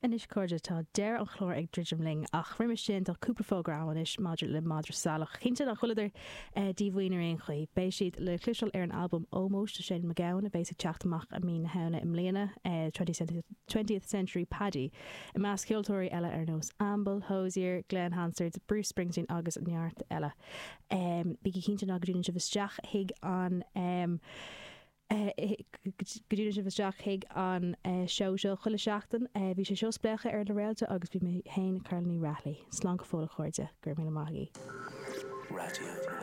Anois a chairde, tá deireadh an chláir ag druidim linn, ach roimis sin tá cúpla fógra agam anois maidir le Madra Salach. Cinnte nach bhfuileadar díomhaoin ar aon chaoi. Beidh siad le cloisteáil ar an albam ómóis do Shane MacGowan a bheas ag teacht amach i mí na Shamhna i mbliana, Twentieth Century Paddy, i measc ceoltóirí eile ar nós Amble, Hozier, Glen Hansard, Bruce Springsteen agus neart eile. Bígí cinnte ná go dtiúnann sibh isteach chuig an. go dtiúnann sibh isteach chuig an seó seo chuile sheachtain. Bhí sé seo Spléachadh ar na Réalta agus bhí mé féin, Carla Ní Raghallaigh. Slán go fóill a chairde. Go raibh míle maith agaibh. Raidió.